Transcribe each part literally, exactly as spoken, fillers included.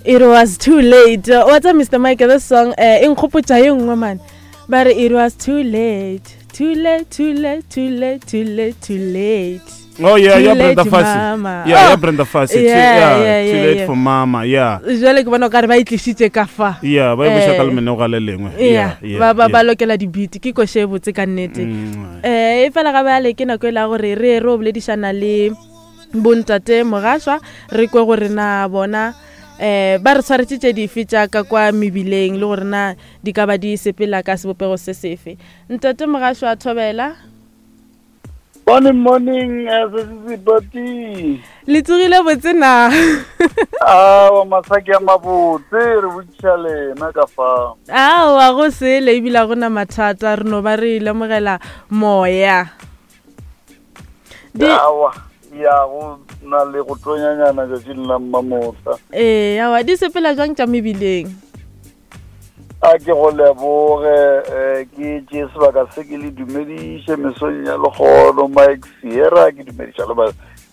It was too late. What's up, Mister Mike? This song eh e nkgopotša ye nngwe man. Ba re it was too late. Too late, too late, too late, too late, too late. Oh yeah, Too yeah, late, Brenda Fassie. mama. Yeah, yeah, Oh, Brenda Fassie. Too, yeah, yeah, yeah, too yeah, late yeah. for mama. Yeah. Jwale ke bona o kare ba e tlišitše ka fa. Yeah, ba e buša ka Eh, lemenoga le lengwe. Yeah, Yeah, ba ba yeah. ba lokela di-beat ke koše e botse ka nnete. Mm. Eh e fela ga bjale ke nako e la gore re re o boledišana le bontate Mogaswa re kwe gore na bona eh ba re tshwaretše tše dife tša ka kwa mebileng le gore na di ka ba di sepela ka sebopego se sefe. Ntate Mogaswa, thobela. Morning, morning, Sesipati. Le tsogile botse na? Awa, masaki a mabotse, re botšiša lena ka fa. Aowa, go sele ebile ga gona mathata, re no ba re lemogela moya. Di Awa, ya go na le go tonyanyana tšatšing la mmamotla. Ee, aowa, di sepela jwang tša mebileng? A ke go leboge, eh, ke tšee sebaka se ke le dumediše mesong ya lekgono, Mike Sierra, ke dumediša le ba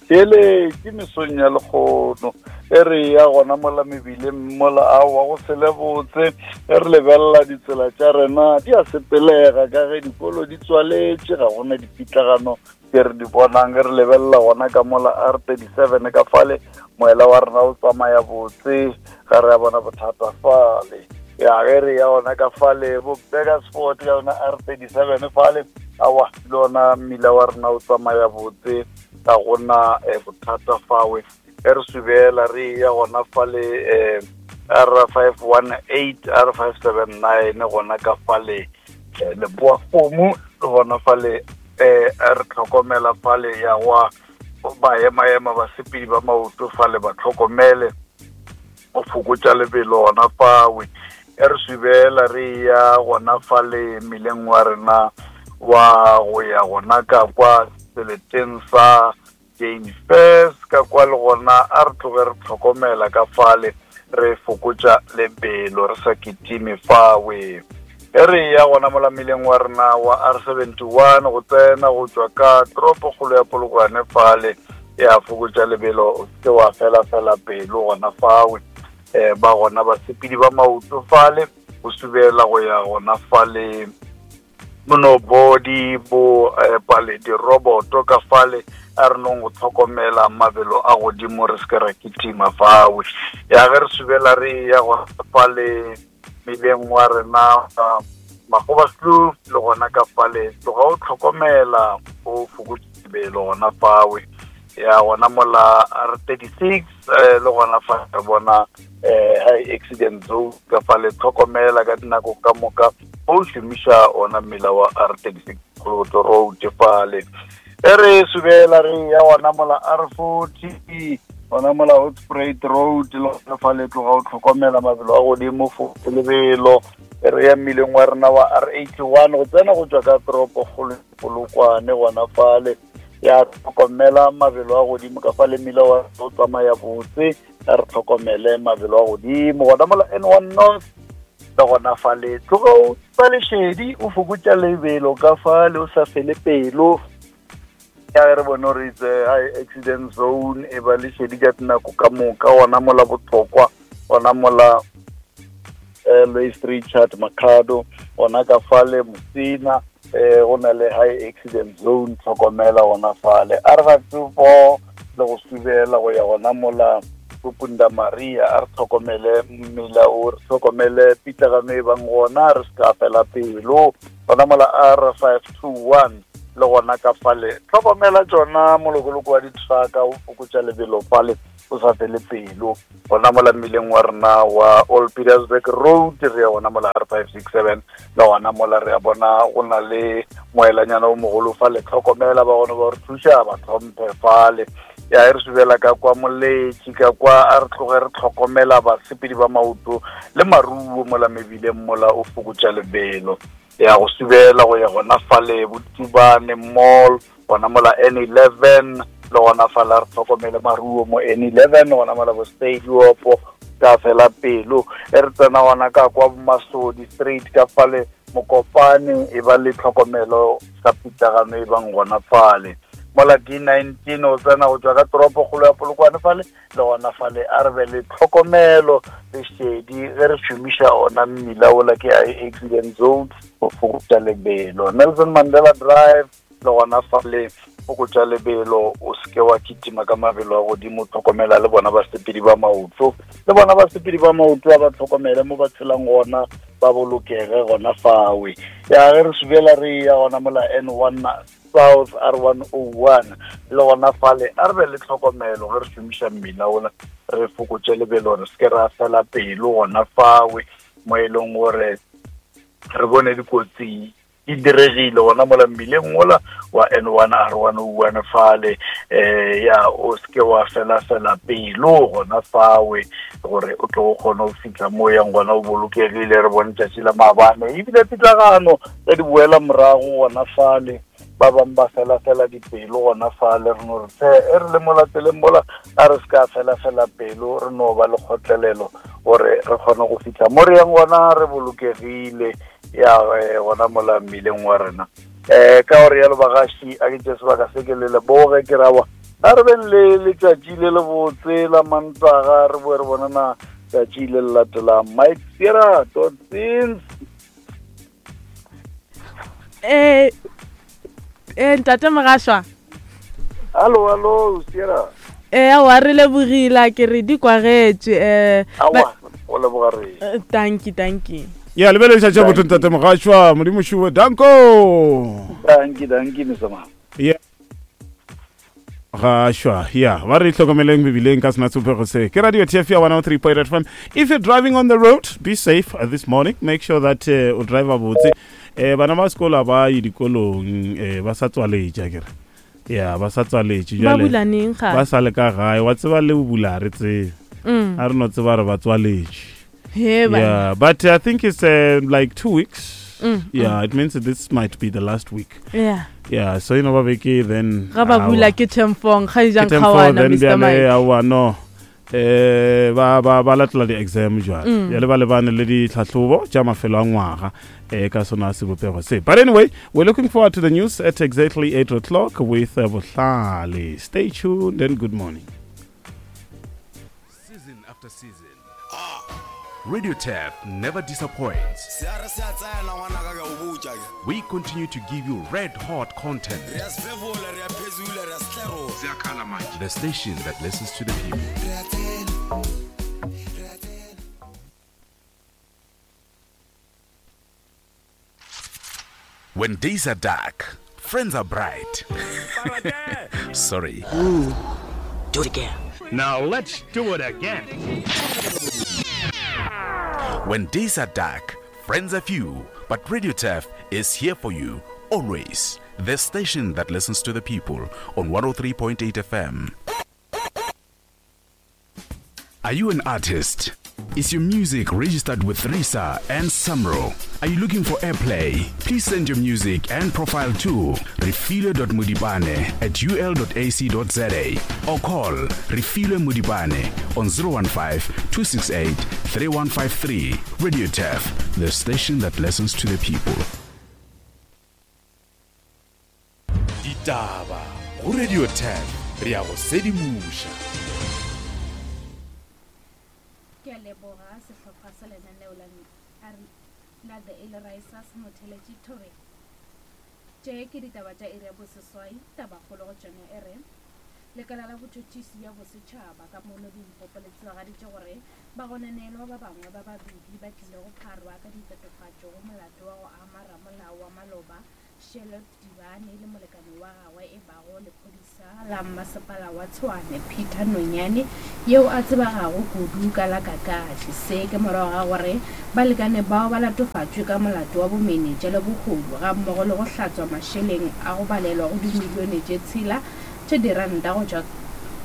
theeletše mesong ya lekgono. E re ya gona mola mebileng mola, aowa, go sele botse. E re lebelela ditsela tša rena di a sepelega ka ge dikolo di tswaletše, ga gona dipitlagano tse re di bonang. Ge re lebelela gona ka mola R thirty-seven ka fale, moela wa rena o tsamaya botse, ga re a bona bothata fale. Ya ge re ya gona ka fale bo Burgersfort ka yona R thirty-seven fale, aowa, le ona mmila wa rena o tsamaya botse, ga gona, eh, bothata fawe. Ge re subela re ya gona fale, eh, R five one eight, R five seven nine gona ka fale, eh, Leboa Kgomo, le gona fale, eh, re tlhokomela fale ya gwa ba ema-ema basepedi ba maoto fale ba tlhokomele go fokotša lebelo gona fawe. E re subela re ya gona fale mmileng wa rena wa go ya gona ka kwa seleteng sa Jane Fairs ka kwa, le gona a re tloge re tlhokomela ka fale, re fokotša lebelo re sa kitime fawe. E re ya gona mola mmileng wa rena wa R seventy-one go tsena go tšwa ka toropokgolo ya Polokwane fale, ya fokotša lebelo, o se ke wa fela fela pelo gona fawe. Eh, ba gona basepedi ba maoto fale go subela go ya gona fale monobodi bo, eh, pale diroboto ka fale, a re nong go tlhokomela mabelo a godimo re se ke ra kitima fawe. Ya ge re subela re ya gona fale mmileng wa rena, uh, Magobakloof le gona ka fale, tloga o tlhokomela o fokotse lebelo gona fawe. Ya gona mola R thirty-six, eh, le gona fa re bona, eh, high accident zone ka fale, tlhokomela ka dinako ka moka o šomiša ona mmila wa R thirty-six Kgoloboto Road fale. E re subela re ya gona mola R forty, gona mola Hoedspruit Road le gona fale, tloga o tlhokomela mabelo a godimo, fokotse lebelo. E re ya mmileng wa rena wa R eighty-one go tsena go tšwa ka toropokgolo Polokwane gona fale, ya tlhokomela mabelo a godimo ka fale, mmila wa o tsamaya botse, a re tlhokomele mabelo a godimo gona mola N one North le gona fale, tloga o ba lešedi o fokotša lebelo ka fale, o sa fele pelo. Ya ge re bone gore it's a high accident zone, e ba lešedi ka dinako ka moka gona mola Botlokwa, gona mola, eh, Louis Richard Makhado, gona ka fale Musina, eh, go na le high accident zone, tlhokomela gona fale. R five two four le go subela go ya gona mola Punda Maria, a re tlhokomele mmila o, re tlhokomele pitlagano e bang gona, re se ka fela pelo. Gona mola R five two one le gona ka fale, tlhokomela tšona molokoloko wa di-trucka, o fokotša lebelo fale, o sa fele pelo. Gona mola mmileng wa rena wa Old Pietersburg Road, re ya gona mola R five six seven, le gona mola re ya bona go na le moelanyana o mogolo fale, tlhokomela ba gona ba re thuša, ba tlhomphe fale. Ya e re subela ka kwa Moletši ka kwa, a re tloge re tlhokomela basepedi ba maoto le maruo mola mebileng mola o fokotša lebelo. Ya go subela go ya gona fale Botubane Mall, gona mola N eleven, le gona fale re tlhokomele maruo mo N eleven, gona mola bo Stadium ka fela pelo. E re tsena gona ka kwa Masodi Street ka fale Mokopane, e ba le tlhokomelo ka pitlagano e bang gona fale. Mola D nineteen o tsena go tswa ka toropo kgolo ya Polokwane fale, le gona fale a re be le tlhokomelo le šedi ge re šomiša ona mmila ola ke accident zone go fokotša lebelo. Nelson Mandela Drive le gona fale fokotša lebelo, o seke wa kitima ka mabelo a godimo, tlhokomela le bona basepedi ba maoto, le bona basepedi ba maoto a ba tlhokomele mo ba tshelang gona, ba bolokege gona fawe. Ya ge re subela re ya gona mola N one South R one oh one le gona fale a re be le tlhokomelo ge re šomiša mmila ola, re fokotše lebelo, re seke ra fela pelo gona fawe mo e leng gore re bone dikotsi di diregile gona mola mmileng ola wa N one R one oh one fale. Eh ya o seke wa fela fela pelo gona fawe gore o tlo kgona go fihla mo yang gona o bolokegile. Re bone tšatši la maabane ebile pitlagano ge di boela morago gona fale, ba bang ba fela fela dipelo gona fale. Re no re tle e re le mo lateleng mola a re se ka fela fela pelo, re no ba le kgotlelelo gore re kgone go fihla mo re yang gona re bolokegile ya gona mola mmileng wa rena. Eh ka gore yalo bagaši a ke tše sebaka se ke le leboge ke rawa a re beng le letšatši le le botse la Mantaga, re boe re bonana tšatši le le latelang. Mike Sierra dot sins. Eh eh ntate Mogaswa. Hallo hallo Sierra. Eh wa re lebogile ke re di kwagetše eh awa o leboga re. Thank you thank you. Ya lebele letšatši botho ntate Mogaswa, Modimo šuwe danko. Danki danki mesama. Yeah. Gashwa, yeah, ba re hlokomeleng mebileng ka sena sebopego se. Ke Radio T F ya one oh three point eight F M. If you're driving on the road, be safe this morning. Make sure that uh, o drive botse. Eh bana ba sekolo ba ye dikolong, eh ba sa tswaletše akere. Yeah, ba sa tswaletše jwale. Ba bula neng ga? Ba sa le ka gae, wa tseba le bula re tsebe. A re no tseba re ba tswaletše. Yeah, but I think it's uh, like two weeks. Mm, yeah, mm. It means that this might be the last week. Yeah. Yeah, so you know babeke then ga ba bula ke temfong ga jang khawana Mister Mike. Awa no. Eh ba ba ba latela di exam jwale. Ya le ba lebane le ditlhahlobo tša mafelo a ngwaga eh ka sona sebopego se. But anyway, we're looking forward to the news at exactly eight o'clock with uh, Bohlale. Stay tuned and good morning. Season after season. Radio Tap never disappoints. We continue to give you red hot content. The station that listens to the people. When days are dark, friends are bright. Sorry. Ooh, do it again. Now let's do it again. When days are dark, friends are few, but Radio T A F is here for you, always. The station that listens to the people on one oh three point eight F M. Are you an artist? Is your music registered with RISA and SAMRO? Are you looking for airplay? Please send your music and profile to refilwe dot modibane at u l dot a c dot z a or call Refilwe Modibane on zero one five, two six eight, three one five three. Radio T A F, the station that listens to the people. Ditaba go Radio T A F, re ya go sedimuša. Ke a leboga sehlopha sa lenaneo la la The Early Risers motheletši Thobela. Tše ke ditaba tša iri ya boseswai, tabakgolo go tšona e re lekala la botšhotšhisi bja bosetšhaba ka mono Limpopo le tsebagaditše gore bagononelwa ba bangwe ba babedi ba tlile go pharwa ka ditatofatšo go molato wa go ama ramolao wa maloba Charlotte Dibane le molekane wa gagwe e bago lephodisa la mmasepala wa Tshwane Peter Nonyane yeo a tsebegago kudu ka la Kakashi. Se ke morago ga gore balekane bao ba latofatšwe ka molato wa bomenetša le bohodu ga mmogo le go hlatswa mašeleng a go balelwa go dimilione tše tshela tše diranta go tšwa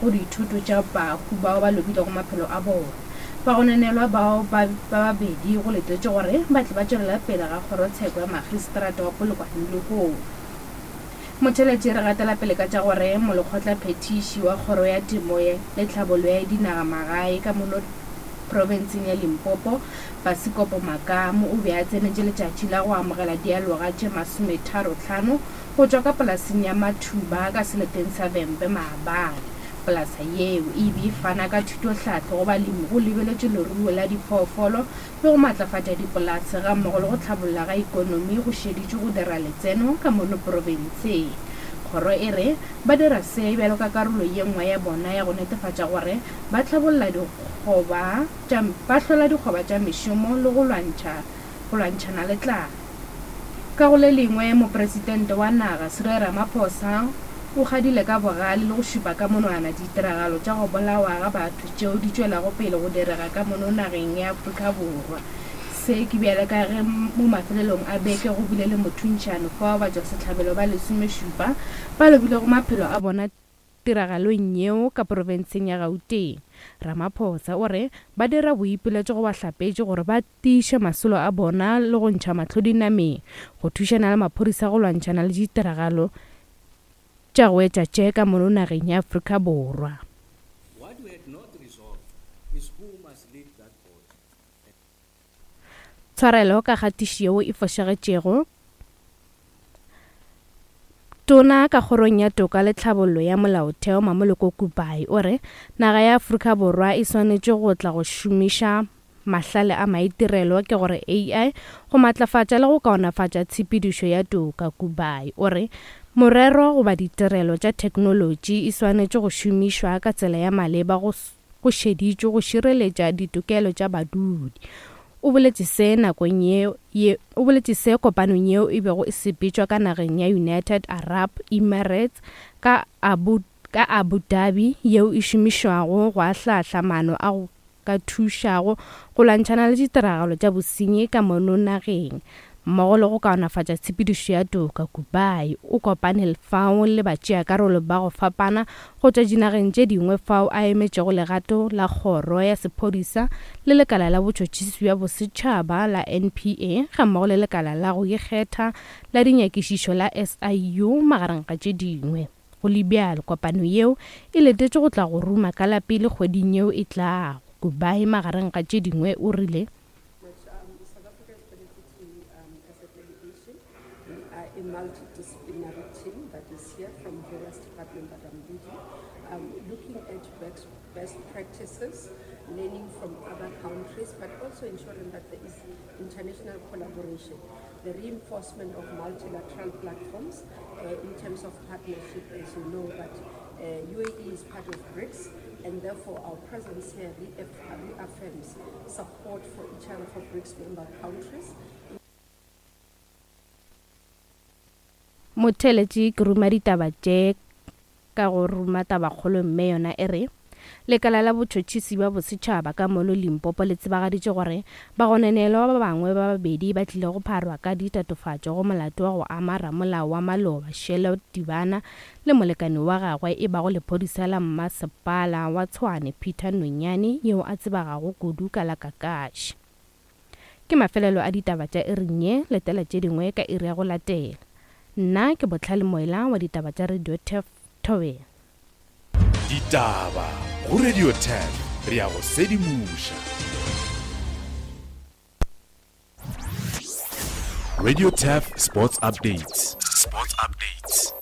go dithoto tša bahu bao ba lobilego maphelo a bona. Bagononelwa bao ba babedi go letetše gore ba tle ba tšwelela pele ga kgorotsheko ya magistrata wa Polokwane lehono. Motheletši re gatela pele ka tša gore molekgotla phetiši wa kgoro ya temo le tlhabollo ya dinagamagae ka mono Profenseng ya Limpopo, Basikopo Makamu o be a tsenetše letšatši la go amogela dialoga tše masometharo-hlano go tšwa ka polaseng ya Mathuba ka seleteng sa Vhembe maabane. Polasa yeo e be e fana ka thutohlahlo go balemi go lebeletšwe leruo la diphoofolo le go matlafatša dipolase gammogo le go hlabolla ga ikonomi go šeditšwe go dira letseno ka mono profenseng. Kgoro e re ba dira se bjalo ka karolo ye nngwe ya bona ya go netefatša gore ba hlabolla dikgoba tša ba hlola dikgoba tša mešomo le go lwantšha go lwantšhana le tlala. Ka go le lengwe, mopresidente wa naga Cyril Ramaphosa o kgadile ka bogale le go šupa ka monwana ditiragalo tša go bolawa ga batho tšeo di tšwelago pele go direga ka mono nageng ya Afrika Borwa. Se ke bjale ka ge mo mafelelong a beke go bile le mothuntšhano fao batšwasehlabelo ba lesomešupa ba lobilego maphelo a bona tiragalong yeo ka profenseng ya Gauteng. Ramaphosa o re ba dira boipiletšo go bahlapetši gore ba tiiše masolo a bona le go ntšha mahlo dinameng go thušana le maphodisa go lwantšhana le ditiragalo tša go etša tše ka mono nageng ya Afrika Borwa. What we had not resolved is who must lead that board. Tshwarelo ka kgatišo yeo e fošagetšego. Tona ka kgorong ya toka le tlhabollo ya molaotheo Mamoloko Kubayi o re naga ya Afrika Borwa e swanetše go tla go šomiša mahlale a maitirelo ke gore A I go matlafatša le go kaonafatša tshepedišo ya toka. Kubayi o re morero goba ditirelo tša theknolotši e swanetše go šomišwa ka tsela ya maleba go go šeditšwe go šireletša ditokelo tša badudi. O boletše se nakong yeo ye o boletše se kopanong yeo e bego e sepetšwa ka nageng ya United Arab Emirates ka Abu ka Abu Dhabi yeo e šomišwago go ahlahla maano a go ka thušago go lwantšhana le ditiragalo tša bosenyi ka mono nageng mmogo le go kaonafatša tshepedišo ya toka. Kubayi o kopane fao le batšeakarolo ba go fapana go tšwa dinageng tše dingwe fao a emetšego legato la kgoro ya sephodisa le lekala la botšhotšhisi bja bosetšhaba la N P A gammogo le lekala la go ikgetha la dinyakišišo la S I U magareng ga tše dingwe. Go le bjalo, kopano yeo e letetše go tla go ruma ka la pele kgweding yeo e tlago. Kubayi magareng ga tše dingwe o rile a multidisciplinary team that is here from various departments that I'm leading, um, looking at best, best practices, learning from other countries, but also ensuring that there is international collaboration, the reinforcement of multilateral platforms uh, in terms of partnership. As you know, that uh, U A E is part of BRICS, and therefore our presence here reaffirms support for each other for BRICS member countries. Motheletši ke ruma ditaba tše ka go ruma tabakgolo mme yona e re lekala la botšhotšhisi bja bosetšhaba ka mono Limpopo le tsebagaditše gore bagononelwa ba bangwe ba babedi ba tlile go pharwa ka ditatofatšo go molato wa go ama ramolao wa maloba Shelo Tibana le molekane wa gagwe e bago lephodisa la mmasepala wa Tshwane Peter Nonyane yeo a tsebegago kudu ka la Kakashi. Ke mafelelo a ditaba tša iring ye, letela tše dingwe ka iri ya go latela. Nna ke Botlhale Moela wa ditaba tša Radio Turf Thobela. Ditaba go Radio Turf, re ya go sedimoša. Radio Turf Sports Updates. Sports Updates.